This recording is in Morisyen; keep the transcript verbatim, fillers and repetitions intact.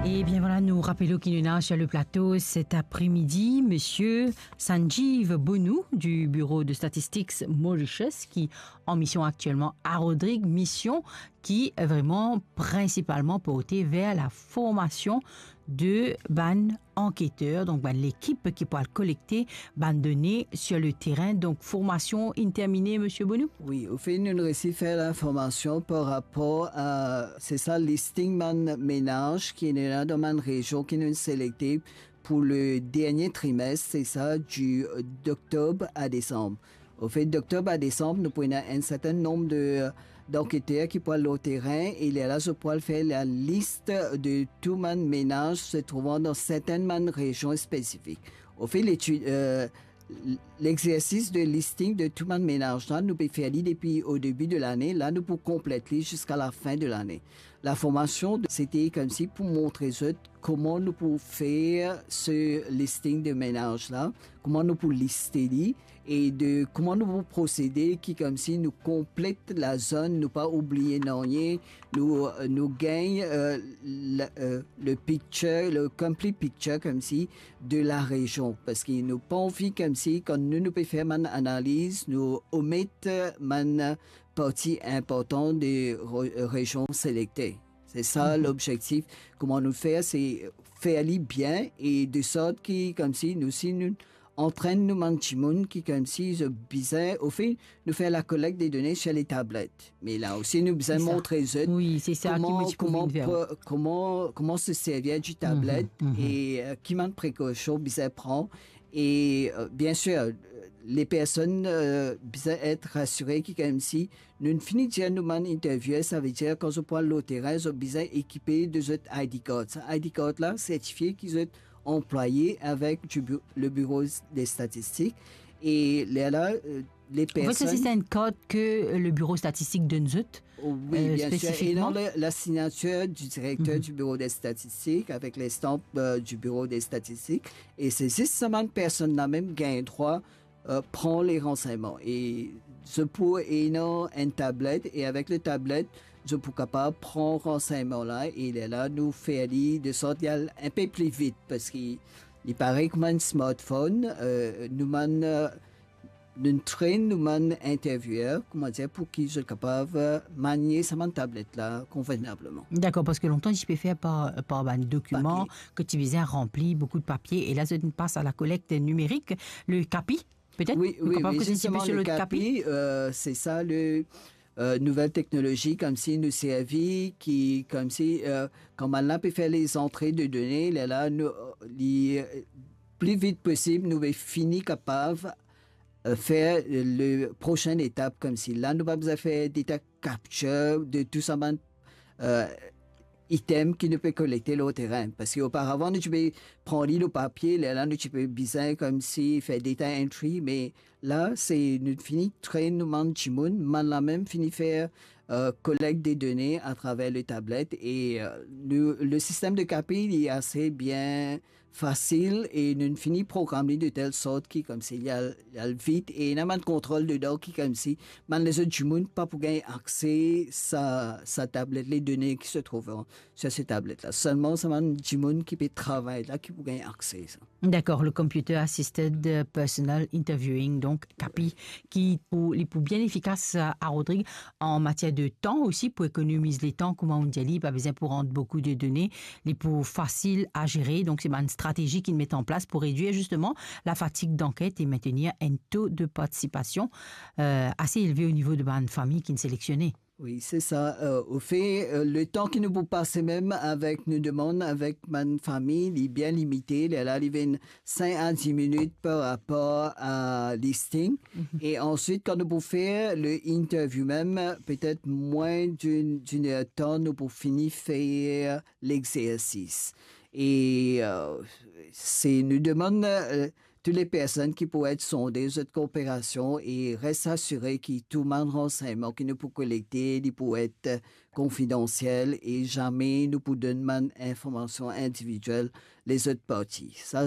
Ebien vwala, nou rapel ki nou ena sur le plato set apremidi Misie Sanjeev Bonu du Bureau de Statistics Mauritius, ki an mision aktielman a Rodrig, mision ki vreman prinsipalman porte ver la formasion de bann anketer, donk bann lekip ki pou al kolekte bann done sur le terin. Donk formasion inn termine, Misie Bonu? Wi, anfet, nou resi fer la formasion par rapor a, se sa, listing bann menaz ki ena dan bann rezion ki nou selekte pou le dernie trimes, se sa, di, euh, d'oktob a desanm. Anfet, d'oktob a desanm, nou pou ena enn sertin nonb de, euh, d'anketer ki pou al lor terin, e lerla zot pou al fer lalis de tou bann menaz se trouvan dan sertin bann rezion spesifik. Anfet, letid, euh, l-, lexersis de listing de tou bann menaz la, nou pe fer li depi o debi de lane, la nou pou konplet li ziska lafin de lane. La formasion, sete koumsi pou montre zot kouma nou pou fer se listing de menaz la, kouma nou pou liste li, e de kouma nou pou prosede ki koumsi nou konplet lazone, nou pa oubliye nanye, nou, nou gagn, euh, la, euh, le picture, le complete picture koumsi de la rezion, parski nou pa anvi koumsi kan nou, nou pe fer bann analiz, nou omet bann parti inportan de re-, rezion selekte. Se sa lobzektif, kouma nou fer, se fer li bien e de sort ki, koumsi nou, si nou antrenn nou bann dimoun ki, koumsi zot bizin, anfet, nou fer la collecte des données sur les tablettes. Me la osi, nou bizin montre zot kouma, kouma, kouma se servir di tablet e, euh, ki bann prekausion bizin pran. E, euh, bien sûr, euh, les personnes, euh, bizin et rasire ki, koumsi nou fini dir nou bann interviewer, savedir kan zot pou al lor terin, zot bizin ekipe de zot I D card. Sa I D card la sertifie ki zot anplwaye avek di bu-, le Bureau des Statistiques. E lerla, euh, les personnes... Anfet, sa se enn kart ki, euh, le Bureau Statistique donn zot, euh, spesifik. Wi, bien sûr. E dan la, la signatir di direkter di Bureau des Statistiques avek lestanp, euh, di Bureau des Statistiques. E se zis sa bann personn la mem gagn drwa euh, pran le ransegnman. E zot pou ena enn tablet, e avek le tablet, zot pou kapav pran ransegnman la, e lerla nou fer li de sort li al inpe pli vit, parski li parey kouma enn smartphone, euh, nou bann, euh, nou train nou bann interviewer, kouma dir, pou ki zot kapav, euh, manie sa bann tablet la konvenableman. Dakor, parski lontan ti pe fer par, par bann dokiman, papie, ki ti bizin ranpli, boukou de papie, e la zot inn pas a la collecte numérique, le CAPI, petet? Wi, nou wi, kapav wi, koze enn ti pe zisteman, sir le le CAPI, CAPI, euh, se sa le, euh, nouvel teknolozi koumsi nou servi, ki koumsi, euh, kan bann la pe fer lezantre de done, lerla nou, euh, li, euh, pli vit posib, nou pe fini kapav, euh, fer le prosenn etap, koumsi la nou pa bizin fer data capture de tou sa bann, euh, item ki nou pe kolekte lor terin. Parski oparavan, nou ti pe pran li lor papie, lerla nou ti pe bizin koumsi fer data entry, me la, se nou fini train nou bann dimoun, bann la mem fini fer, euh, collecte des données atraver le tablet e, euh, nou, le sistem de CAPI, li ase bien fasil e nou fini program li de tel sort ki koumsi li al, li al vit e ena bann kontrol dedan ki koumsi bann lezot dimoun pa pou gagn akse sa, sa tablet, le done ki se trouv sur se tablet la. Selman sa bann dimoun ki pe travay la ki pou gagn akse sa. Dakor, le computer assisted personal interviewing, donk CAPI, ki pou, li pou bien efikas, euh, a Rodrig an matier de tan osi, pou ekonomiz letan, kouma ou dir li, pa bizin pou rant boukou de done, li pou fasil a zere. Donk se bann stratezi ki met an plas pou redwir zisteman la fatig d'anket e maintenir enn to de partisipasion, euh, ase elve o nivo de bann fami ki selektione. Wi, se sa. Euh, ofe, euh, letan ki nou pou pase mem avek, nou demann avek bann fami, li bien limite, lerla li vinn sink a dis minit par rapor a listing. Mhm. E answit, kan nou pou fer le interview mem, petet mwin d'enn, d'enn er tan, nou pou fini fer lexersis. E, euh, se nou demann, euh, tou le personn ki pou et sonde zot kooperasion e res asire ki tou bann ransegnman ki nou pou kolekte, li pou et konfidansiel e zame nou pou donn bann informasion individiel lezot parti. Sa,